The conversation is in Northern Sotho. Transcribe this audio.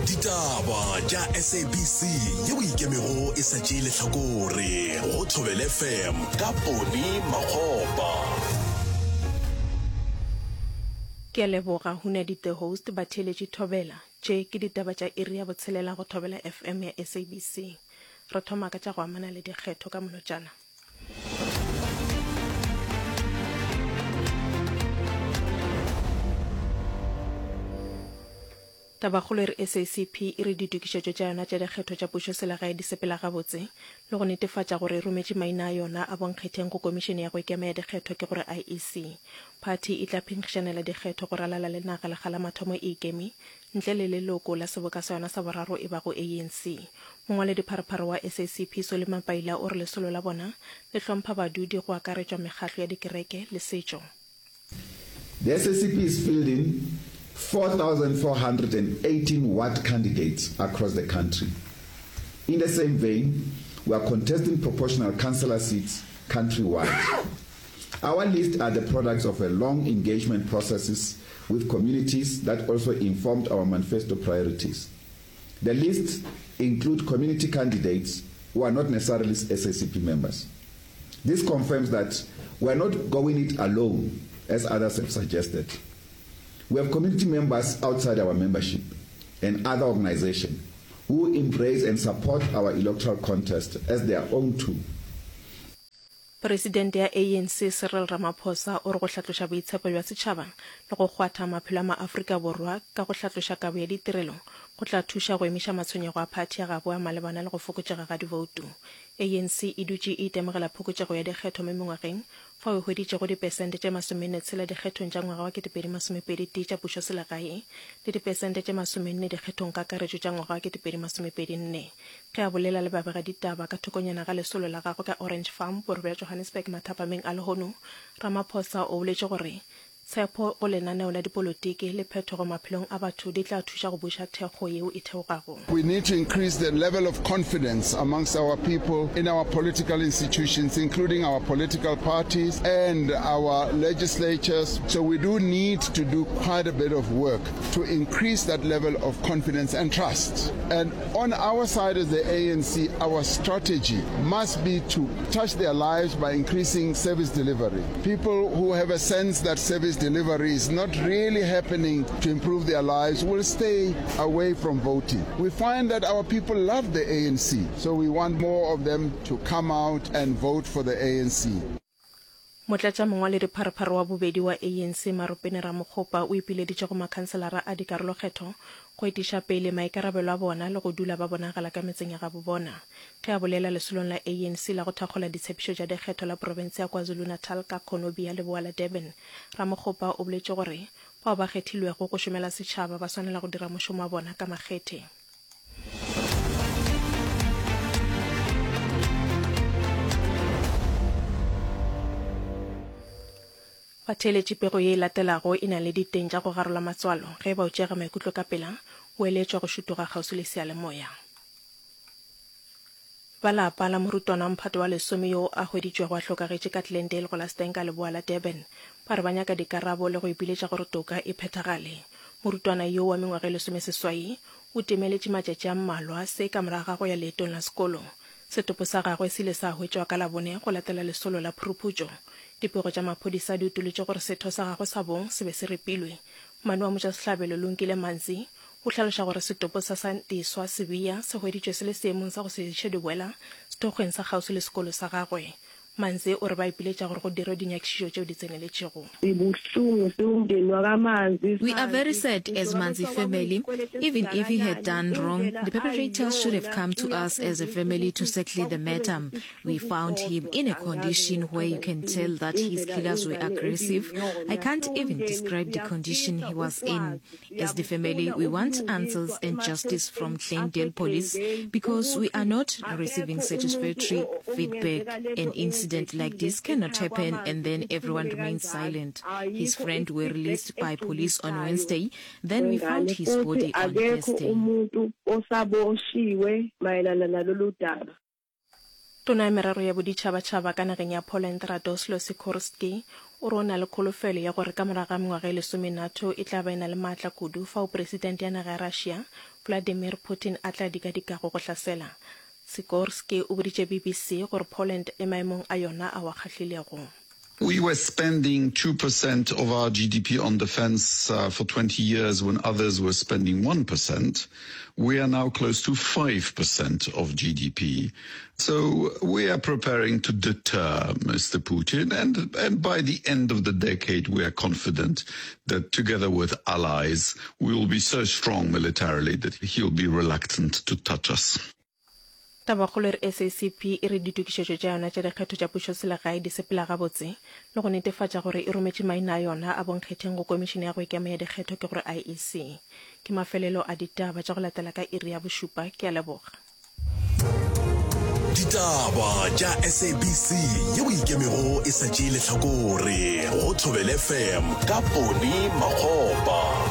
Ditaba tša SABC yeo ikemego e sa tšee lehlakore go Thobela FM ka Poni Makgopa. Ke a leboga Hunadi the host batheeletši Thobela. Tše ke ditaba tša iri ya botshelela go Thobela FM ya SABC. Re thoma ka tša go amana le dikgetho ka molotšana. Tabakgolo e re SACP e re ditokišetšo tša yona tša dikgetho tša pušoselegae di sepela gabotse le go netefatša gore e rometše maina a yona a bonkgetheng go Komišene ya go Ikema ya Dikgetho ke gore IEC. Phathi e tla phenkgišanela dikgetho go ralala le naga lekga la mathomo e ikeme ntle le leloko la seboka sa yona sa boraro e bago ANC. Mongwaledipharephare wa SACP Solly Mapaila o re lesolo la bona le hlompha badudi go akaretšwa mekgahlo ya dikereke le setšo. The SACP is fielding 4,418 ward candidates across the country. In the same vein, we are contesting proportional councillor seats countrywide. Our list are the products of a long engagement processes with communities that also informed our manifesto priorities. The lists include community candidates who are not necessarily SACP members. This confirms that we are not going it alone, as others have suggested. We have community members outside our membership and other organizations who embrace and support our electoral contest as their own too. Presidente ya ANC Cyril Ramaphosa o re go hlatloša boitshepo bja setšhaba le go kgwatha maphelo a maAfrika Borwa ka go hlatloša kabo ya ditirelo go tla thuša go emiša matshwenyego a phathi ya gabo a malebana le go fokotšega ga divoutu. ANC e dutše e itemogela phokotšego ya dikgetho mo mengwageng fao e hweditšego dipesente tše masomenne-tshela dikgethong tša ngwaga wa 2021 tša pušoselegae le dipesente tše masomenne dikgethong kakaretšo tša ngwaga wa 2024. Ge a bolela le babegaditaba ka thokonyana ga lesolo la gagwe ka Orange Farm, borwa bja Johannesburg mathapameng a lehono, Ramaphosa o boletše gore tshepo go lenaneo la dipolotiki le phetogo maphelong a batho di tla thuša go buša thekgo yeo e theogago. We need to increase the level of confidence amongst our people in our political institutions, including our political parties and our legislatures. So we do need to do quite a bit of work to increase that level of confidence and trust. And On our side as the ANC, our strategy must be to touch their lives by increasing service delivery. People who have a sense that service delivery is not really happening to improve their lives will stay away from voting. We find that our people love the ANC, so we want more of them to come out and vote for the ANC. Motlatšamongwaledipharephare wa bobedi wa ANC Maropene Ramokgopa o ipileditše go makhanselara a dikarolokgetho go etiša pele maikarabelo a bona le go dula ba bonagala ka metseng ya gabo bona. Ge a bolela lesolong la ANC la go thakgola ditshepišo tša dikgetho la profense ya KwaZulu-Natal ka Cornubia leboa la Durban, Ramokgopa o boletše gore bao ba kgethilwego go šomela setšhaba ba swanela go dira mošomo wa bona ka makgethe. Batheeletši pego ye e latelago e na le diteng tša go garola matswalo. Ge e ba o tšeega maikutlo ka pela, o eletšwa go šutoga kgauswi le seyalemoya. Ba lapa la morutwana wa mphato wa lesome yo a hweditšwego a hlokagetše ka Glendale go la Stenka leboa la Durban ba re ba nyaka dikarabo le go ipiletša gore toka e phethagale. Morutwana yo wa mengwaga e lesomeseswai o timeletše matšatši a mmalwa se ka morago ga go ya leetong la sekolo. Setopo sa gagwe se ile sa hwetšwa ka Labone go latela lesolo la phuruphutšo. Dipego tša maphodisa di utolotše gore setho sa gagwe sa bong se be se ripilwe. Mmane wa motšwasehlabelo Lungile Manzi O hlaloša gore setopo sa Santiswa Sibiya se hweditšwe se le seemong sa go se iše diboela sethokgweng sa kgauswi le sekolo sa gagwe. Manze o re ba ipiletša gore go dirwe dinyakišišo tšeo di tseneletšego. We are very sad as Manzi family, even if he had done wrong, the perpetrators should have come to us as a family to settle the matter. We found him in a condition where you can tell that his killers were aggressive. I can't even describe the condition he was in. As the family, we want answers and justice from Glendale police because we are not receiving satisfactory feedback. An incident like this cannot happen and then everyone remains silent. His friend were released by police on Wednesday, then we found his body on Thursday. Tona ya Merero ya Boditšhabatšhaba ka nageng ya Poland Radoslaw Sikorski o re o na le kholofelo ya gore ka morago ga mengwaga e lesome NATO e tla ba e na le maatla kudu fao Presidente ya naga ya Russia, Vladimir Putin a tla dikadikago go hlasela. Sikorski o boditše BBC gore Poland e maemong a yona ao a kgahlilego. We were spending 2% of our GDP on defense uh, for 20 years when others were spending 1%. We are now close to 5% of GDP. So we are preparing to deter Mr. Putin. And, and by the end of the decade, we are confident that together with allies, we will be so strong militarily that he'll be reluctant to touch us. Tabakgolo e re SACP e re ditokišetšo tša yona tša dikgetho tša pušoselegae di sepela gabotse le go netefatša gore e rometše maina a yona a bonkgetheng go Komišene ya go Ikema ya Dikgetho ke gore IEC. Ke mafelelo a ditaba tša go latela ka iri ya bošupa. Ke a leboga. Ditaba tša SABC yeo e ikemego e sa tšee lehlakore go Thobela FM ka Poni Makgopa.